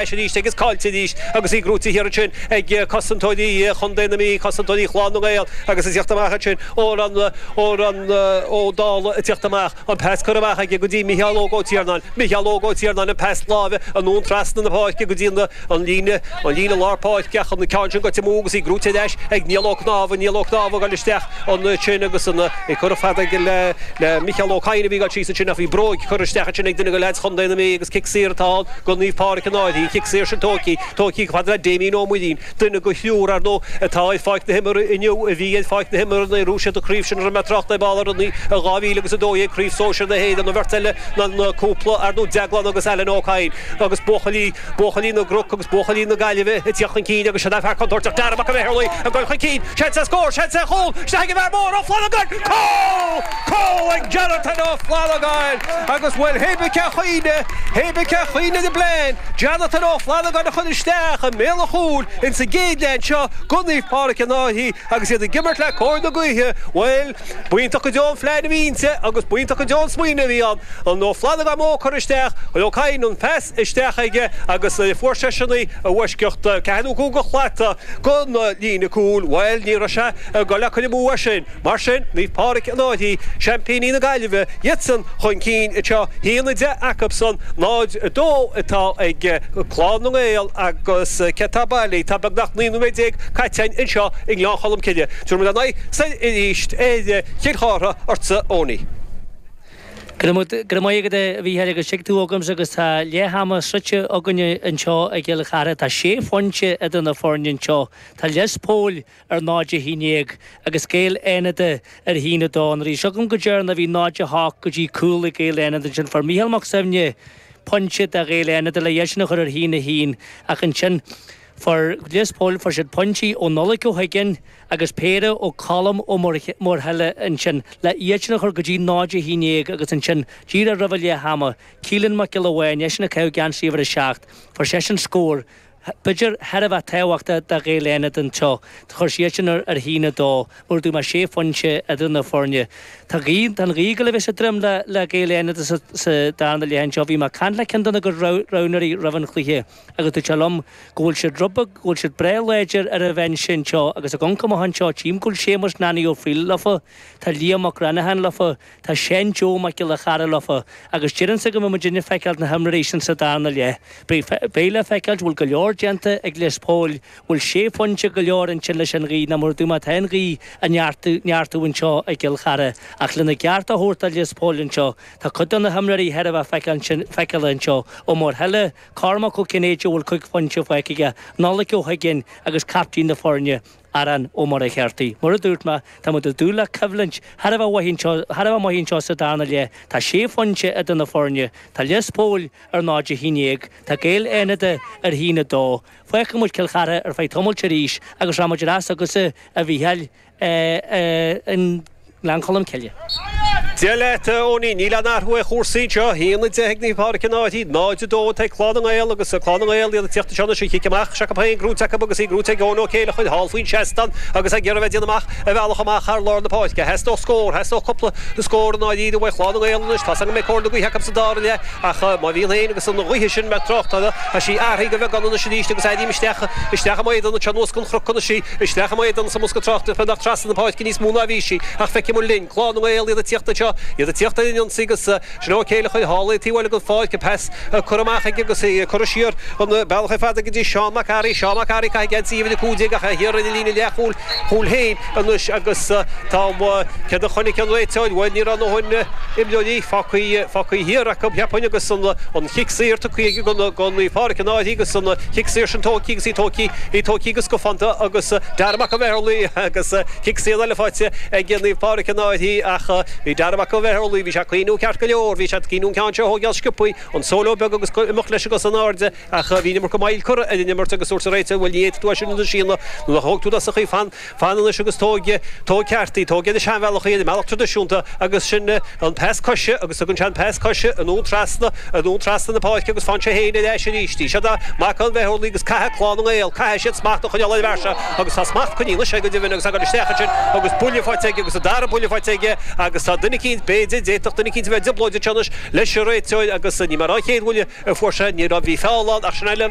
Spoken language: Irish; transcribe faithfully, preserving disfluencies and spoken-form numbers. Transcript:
arís agus caillte arís agus í gnóthaithe thiar ansin ag cosantóirí Chontae na Mí, cosantóirí Chlann na nGael agus ag teacht amach ansin Odhrán Odhrán Ó Dálaigh ag teacht amach, an pas curtha amach aige go dtí Micheál Óg Ó Tiarnáin, Micheál Óg Ó Tiarnáin an pas láimhe anonn trasna na páirce go dtí an líne an líne lár páirce ach an ceann sin goite amú agus í gnóthaithe ar ais ag Niall Ó Cnámha, Niall Ó Cnámha ag dul isteach ansin agus an ag cur fada aige le le Micheál Ó Cadhain a bhí ag dul síos ansin ach bhí bróig curtha isteach ansin ag duine de leaids Chontae na Mí agus cic saor atá ann go Naomh Pádraig an Fhairche. Cic saor sin tógtha, tógtha chomh fada le Damien Ó Muirín, duine de thriúr, ar ndóigh, atá ar pháirc na himeartha inniu, a bhí ar pháirc na himeartha nuair a ghnóthaigh siad an chraobh sin a raibh mé ag trácht ar ball uirthi i dhá mhíle agus a dó dhéag, Craobh Sóisir na hÉireann, an bheirt eile ná an cúpla, ar ndóigh, Deaglán agus Alan Ó Cadhain agus buachaillí, buachaillí na gCnoc agus buachaillí na Gaillimhe ag tíocht chun cinn agus sin é fear contúirteach Dara Mac an Bheithurlaigh ag dul chun cinn, seans ar scór, seans ar chúl, isteach ag an bhfear mór Ó Flannagáin, cúl! Cúl ag Jonathan Ó Flannagáin agus bhuel, hé bith cén chaoi, hé bith cén chaoi ar an bplean, Jonathan Ó Flannagáin a chur isteach i mbéal an chúil ins an gcéad leath anseo go Naomh Pádraig an Fhairche agus iad ag imirt le cóir na gaoithe. Bhuel, b'iontach go deo an phlean a bhí inti agus b'iontach go deo an smaoineamh a bhí ann. An Ó Flannagáin mór curtha isteach, chuir Ó Cadhain an pas isteach aige agus fuair seisean í i bhfoisceacht ceathair nó cúig de shlata gon líne cúil. Bhuel, ní raibh sé ag dul le cur amú é sin. Mar sin, Naomh Pádraig an Fhairche, seaimpíní na Gaillimhe, iadsan chun cinn anseo, a haon a deich acusan, náid a dó atá ag Clann na nGael agus cé atá bailí? Tá beagnach naoi nóiméad déag caite againn anseo i nGleann Cholm Cille. Tabharfaidh muid ár n-aghaidh soir arís ar Chill Chartha ortsa Owenie. Go raibh maith agat a Mhícheáil agus tuig tú agamsa agus tá leath ama sroichte againne anseo i gCill Chartha. Tá sé phointe idir na foirne anseo. Tá Lios Póil ar náid a haon déag agus Gaeil Fhánada ar a haon a dó. Nuair a bhí seo agam go deireanach bhí náid a hocht go dtí cúl ag Gaeil Fhánada ansin. Fuair Mícheál Mac Suibhne pointe do Ghaeil Fhánada le iad sin a chur ar a haon a haon ach ansin fuair Lios Póil fuair siad pointí ó Nollaig Ó hUiginn agus péire ó Colm Ó Muirthile ansin le iad sin a chur go dtí náid a haon déag agus ansin díreach roimh an leath ama Keelan Mac Giolla Bháin eisean ag caitheamh geansaí uimhir a seacht fuair seisean scór b'fhéidir thar a bheith tábhachtach do Ghaeil Fhánada anseo. Chuir siad sin ar a haon a dó, mar a dúirt mé sé phointe idir na foirne. Tá gaoth, tá an ghaoth ag dul a bheith sa droim le le Gaeil Fhánada sa sa darna leath anseo. Bhí mé ag caint le ceann de na roghnóirí roimh an chluiche agus dúirt sé liom go bhfuil siad rud beag, go bhfuil siad breá láidir ar an bhinse anseo agus ag amharc amach anseo tchím go bhfuil Séamus Nanny Ó Frighil leofa, tá Liam Mac Ranahan leofa, tá Seán Joe Mac Giolla Chara leofa agus deirimse go mbeidh muidinne ag feiceáil na himreoirí sin sa darna leath. Beidh le feiceáil, bhfuil go leor déanta ag Lios Póil, bhfuil sé phointe go leor ansin leis an ghaoth, nó mar a dúirt mé tá an ghaoth ag neartú, neartú anseo i gCill Chartha. Ach lena gceart a thabhairt do Lios Póil anseo, tá cuid de na himreoirí thar a bheith feiceáil, feiceála anseo, Ó Muirthile, Cormac Ó Cinnéide a bhfuil cúig phointe faighte aige, Nollaig Ó hUiginn agus captaen na foirne, Aaron Ó Muircheartaigh. Mar a dúirt mé, tá muid ag dúil le coimhlint thar a bheith mhaith anseo, thar a bheith maith anseo sa darna leath. Tá sé phointe idir na foirne. Tá Lios Póil ar náid a haon déag, tá Gaeil Fhánada ar haon a dó. Fágfaidh muid Cill Chartha ar feadh tamaill arís agus rachaidh muid ar ais chugatsa, a Mhícheáil, i nGleann Cholm Cille. Dia leat, a Owenie. Níl aon athrú ar chúrsaí anseo. A haon a deich ag Naomh Pádraig an Fhairche, náid a dó atá ag Clann na nGael agus Clann na nGael iad ag tíocht anseo anois an chic amach s'acu féin gnóite acu agus í gnóite ag Eoin Ó Céileachair thall faoin seastán agus ag iarraidh bheith ag déanamh amach a bhealach amach thar lár na páirce. Theastódh scór, theastódh cúpla scór i ndáiríre uaidh Chlann na nGael anois. Tá's agam go mbeidh cóir na gaoithe acu sa dara leath ach má bhíonn féin agus an ghaoth sin mé ag trácht uirthi, tá sí athraithe go beagán anois arís agus airím isteach isteach i m'éadan anseo anuas den chnoc anois í, isteach i m'éadan sa mbosca tráchta beagnach trasna na páirce níos mó ná a bhí sí ach feicfidh muid linn. Clann na nGael, iad ag tíocht anseo, iad ag tíocht ar an ionsaí agus sin Ó Céileachair thall ag taobh eile den pháirc, an pas curtha amach aige agus é curtha siar an bealach ar fad go dtí Seán Mac Fhearraigh. Seán Mac Fhearraigh ag caitheamh geansaí uimhir a cúig déag ach é thiar ar an líne leathchúil chúil féin anois agus tá céard a chonaic an réiteoir? Bhuel, ní raibh a ndóthain imreoirí fágtha fágtha thiar acu, cheapfainn, agus an an chic saor tugtha aige go go Naomh Pádraig an Fhairche agus an chic saor sin tógtha agus í tógtha í tógtha go scafánta agus Dara Mac an Bheithurlaigh agus cic saor eile faighte ag Naomh Pádraig an Fhairche ach bhí Dara Mac an Bheithurlaigh, bhí sé ag cuimhniú ceart go leor, bhí sé ag cuimhniú an ceann seo a thógáil sciobthaí, an solo beag agus imeacht leis an gcos in airde ach bhí an iomarca moill curtha ar an imirt agus dúirt an réiteoir, bhuel ní fhéadfaidh tú é sin a shíneadh nuair a thóg tú i dtosach í, fan, fan anois agus tóg, tóg ceart í, tóg ar an seanbhealach í, ar an mbealach traidisiúnta agus sin an pas coise agus tugann sé an pas coise anonn trasna, anonn trasna na páirce agus faigheann sé féin ar ais arís í. Seo Mac an Bheithurlaigh agus caithfidh Clann na nGael, caithfidh siad smacht a choinneáil ar an bhfear seo agus tá smacht coinnithe anois aige go deimhin agus ag dul isteach ansin agus buille faighte aige agus an dara buille faighte aige agus tá duine eicínt eicínt b'fhéidir d'fhéadfadh duine eicínt a bheith i dtrioblóid anois leis an réiteoir agus ní mar an chéad bhuille a fuair sé ní raibh bhí feall ann ach sin eile